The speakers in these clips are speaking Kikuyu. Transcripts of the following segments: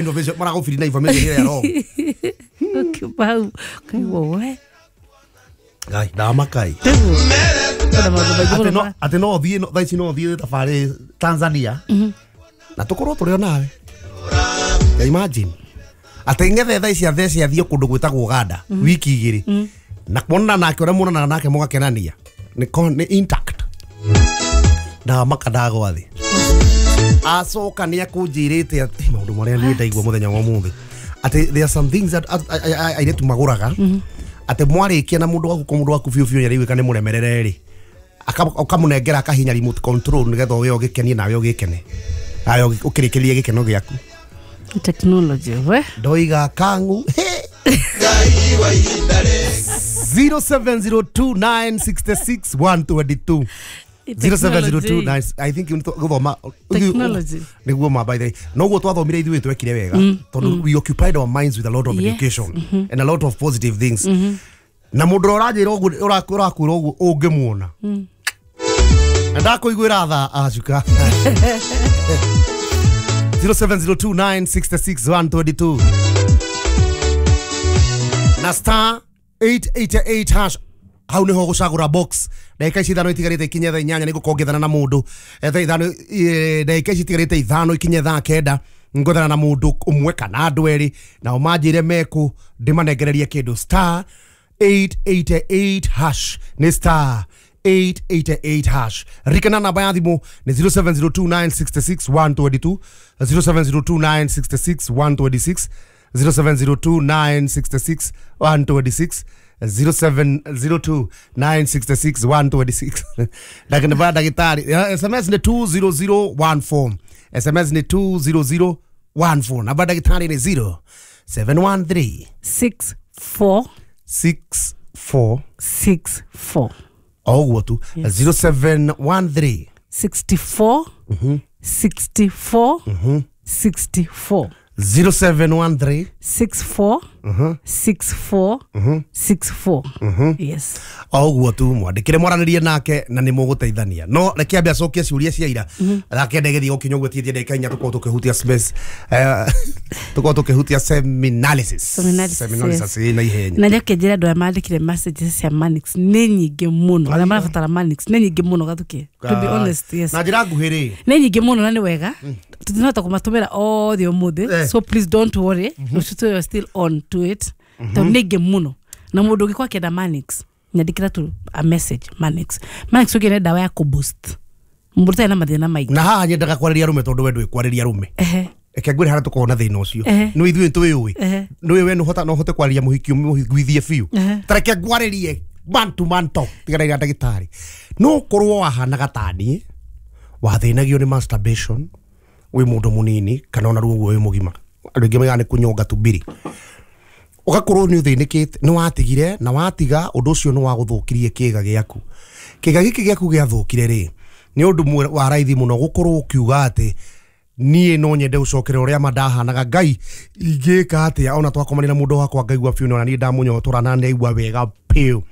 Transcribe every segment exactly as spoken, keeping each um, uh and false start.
Innovation maragũbiri na information ĩrĩa wrong. Ũkiuma hau ũkaigua we. Ngai ndamakai. Tiguo kwĩna maũndũ maingĩ atĩ mũno no ma- atĩ no thiĩ no- thaa ici no thiĩ thabarĩ Tanzania na tũkorwo tũrĩ o nawe. Ya imagine atĩ ng'ethe thaa ici athece athiĩ kũndũ gwĩtagwo Uganda wiki igĩrĩ na kuonana nake ũrĩa muonanaga nake mũgakenania nĩ con- nĩ intact. Ndamaka ndagwa thĩ acoka nĩ akũnjĩrĩte atĩ maũndũ marĩa niĩ ndaigua mũthenya wa ũmũthĩ atĩ there are some things that a- a- a- airĩtu magũraga atĩ mwarĩkia na mũndũ waku ko mũndũ waku biũ biũ nĩaraiguĩka nĩ mũremerere rĩ aka- ũkamũnengera akahinya remote control nĩgetha we ũgĩkenie nawe ũgĩkene nawe ũgĩ- ũkĩrĩkĩrie gĩkeno gĩaku. Technology we. Ndoiga kangu zero seven zero two nine six six one two two zero seven zero two nine. I think guthoma Technology. Niguo ma by the way noguo twathomire ithuĩ twekire wega tondu we occupied our minds with a lot of Yes. education and a lot of positive things na mũndũ ũrĩa ũranjĩra ũguo ũrakwĩra ũguo ũngĩmuona na ndakũiguĩra tha acuka zero seven zero two nine six six one two two na star eight eight eight hash hau niho gucagura box. Ndagika ici ithano itigarite ikinye thaa inyanya nĩngũkorwo ngĩethana na mũndũ. Eh, thaa ithano eh, ndagika ici itigarite ithano ikinye thaa kenda ngwethana na mũndũ ũmwe kana andũ erĩ nao manjĩre mekũ ndĩmanengererie kĩndũ. Star eight eight eight hash nĩ star eight eight eight hash. Ririkana namba ya thimũ nĩ zero seven zero two nine six six one two two, zero seven zero two nine six six one two six, zero seven zero two nine six six one two six, zero seven zero two nine six six one two six. Ndagĩnĩba ndagĩtarĩ eh, S M S nĩ two zero zero one four, S M S nĩ two zero zero one four. Namba ndagĩtarĩ nĩ zero seven one three six four six four six four. O ũguo tu zero seven one three sixty-four sixty-four sixty-four. zero seven one three six four six four six four, yes. O ũguo tu mwandĩkĩre mwaranĩrie nake na nĩ mũgũteithania no reke ambe acokie ciũria cia ira thaa kenda ĩgĩthiĩ gũkinya ũguo tigĩtie ndagĩka inya tũkorwo tũkĩhutia space eh, tũkorwo tũkĩhutia seminalysis. Seminalysis, seminalysis ĩ na ihenya. Na njoke njĩre andũ aya mandĩkire messages cia Manix nĩ nyingĩ mũno arĩa marabatara Manix nĩ nyingĩ mũno gathuke, to be honest, yes. Na njĩra nguhĩ rĩ Nĩ nyingĩ mũno na nĩ wega tũtinahota kũmatũmĩra othe ũmũthĩ. Eh. So please don't worry, rũciũ tũyo still on to it tondũ nĩ ingĩ mũno na mũndũ ũngĩkorwo akĩenda Manix nyandĩkĩra tu a message Manix. Manix ũngĩ nĩ ndawa ya kũboost mũndũ ũtarĩ na mathĩna maingĩ. Na haha nyendaga kwarĩria arũme tondũ we ndũĩ kwarĩria arũme. Ehe. Reke ngwĩre harĩa tũkoragwo na thĩna ũcio. Ehe. Nĩ ithuĩ tũĩũĩ Ehe. nĩũĩ we nũhota no ũhote kwarĩria mũhiki ũmũhiguithie biũ. Ehe. Ta reke ngwarĩrie man to man talk tigana na ndagĩtarĩ no korwo wahanaga taniĩ wathĩnagio nĩ masturbation wĩ mũndũ mũnini kana ona ruo ũguo wĩ mũgima andũ aingĩ maigaga nĩ kũnyonga tubiri ũgakorwo nĩ ũthĩnĩkĩte nĩ watigire na watiga ũndũ ũcio nĩ wagũthũkirie kĩga gĩaku kĩga gĩkĩ gĩaku gĩathũkire rĩ nĩ ũndũ mwe- wa raithi mũno gũkorwo ũkiuga atĩ niĩ no nyende gũcokera ũrĩa ma ndahanaga ngai ingĩka atĩa ona twakomania na mũndũ wakwa ngaigua biũ na niĩ ndamũnyotora na ndaigua wega biũ.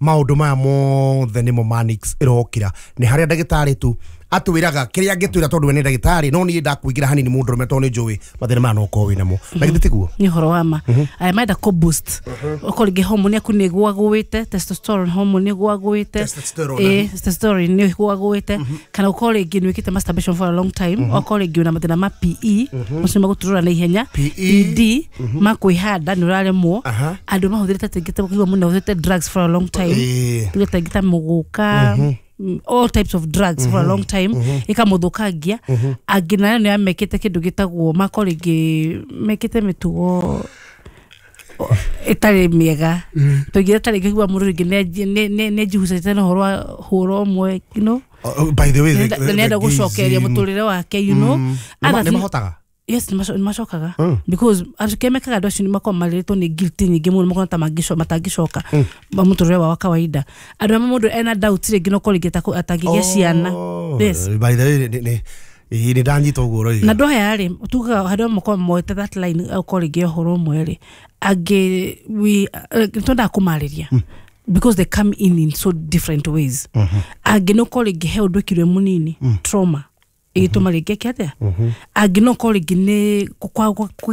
Maũndũ maya mothe nĩmo Manix ĩrokĩra nĩ harĩa ndagĩtarĩ tu atwĩraga kĩrĩa angĩtwĩra tondũ we nĩ ndagĩtarĩ no niĩ ndakũingĩra hanini mũndũ rũme tondũ nĩ njũĩ mathĩna maya no ũkorwo wĩnamo na githĩ tiguo? Nĩ ũhoro wa ma aya marenda kũ boost okorwo rĩngĩ hormone yaku nĩ ĩgũagũĩte, testosterone hormone nĩ ĩgũagũĩte. Testosterone. Ĩ testosterone nĩ ĩgũagũĩte kana ũkorwo rĩngĩ nĩ wĩkĩte masturbation for a long time okorwo rĩngĩ wĩna mathĩna ma P E macio magũturũra na ihenya. P E. E D ma kwĩhanda nĩ ũraremwo. Aha. Andũ mahũthĩrĩte rĩngĩ ta ũkaigua mũndũ ahũthĩrĩte drugs for a long time. Ĩĩ. Tuge ta ta mũgũka mm, all types of drugs for a long time ĩkamũthũkangia. Angĩ nayo nĩ amekĩte kĩndũ gĩtagwo mako rĩngĩ mekĩte mĩtugo o- ĩtarĩ mĩega tũingĩre ta rĩngĩ igua mũndũ rĩngĩ nĩ nĩnjihucĩte na ũhoro wa hũra ũmwe you know Oh, oh, by the way the- the- nĩenda the gũcokeria gayism. mũtũrĩre wake you know Nĩ ma- Others nĩ mahotaga. Yes, nĩ macokaga because andũ kĩa mekaga andũ acio nĩ makoragwo marĩrĩtwo nĩ guilt nyingĩ mũno makona ta mangĩco- matangĩcoka ma mũtũrĩre wao wa kawaida. Andũ amwe mũndũ ena doubt rĩngĩ no korwo rĩngĩ atako- atangĩgĩa ciana. Oh, Yes. by the way nĩ- nĩ ĩĩ, nĩ ndanyita ũguo ũroiga. Na andũ aya rĩ tugaga handũ amwe makoragwo moete that line ũkorwo rĩngĩ ũhoro ũmwe rĩ angĩ we eh, twendaga kũmarĩria because they come in in so different ways. Angĩ no korwo rĩngĩ he ũndũ ĩkirwe mũnini trauma ĩgĩtũma rĩngĩ eke atĩa angĩ no korwo rĩngĩ nĩ kwa- kwa- kũgĩa